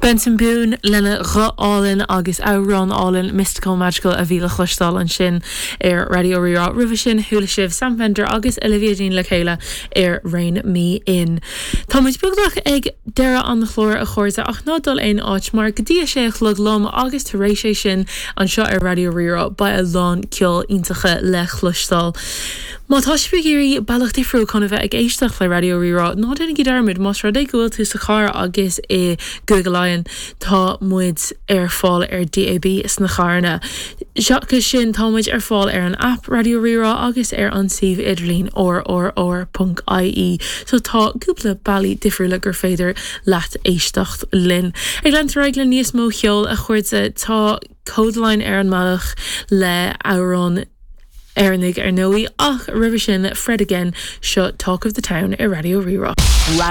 Benson Boone lena ghuth álainn agus amhrán álainn Mystical Magical a bhí le cloisteáil ansin ar Raidió Rí-Rá. Roimhe sin chuala sibh Sam Fender agus Olivia Dean le chéile ar Rein Me In. Tá muid beagnach ag deireadh an chláir a chairde ach ná dul aon áit mar go dtí a sé a chlog liom agus tar éis é sin anseo ar Raidió Rí-Rá beidh a lán ceol iontacha le cloisteáil. Má tá sibh ag iarraidh bealach difriúil chun a bheith ag éisteacht le Raidió Rí-Rá, ná déanaigí dearmad, más rud é go bhfuil tú sa charr agus i gCúige Laighean, tá muid ar fáil ar DAB sna carranna. Seachas sin, tá muid ar fáil ar an aip Raidió Rí-Rá agus ar an suíomh idirlín rrr.ie. So tá cúpla bealaí difriúla gur féidir leat éisteacht linn. Ag leanúint ar aghaidh le níos mó cheoil, a chairde, tá Kodaline ar an mbealach le amhrán Éireannaigh ar ndóigh, ach roimhe sin, Fred Again, seo Talk of the Town ar Raidió Rí-Rá.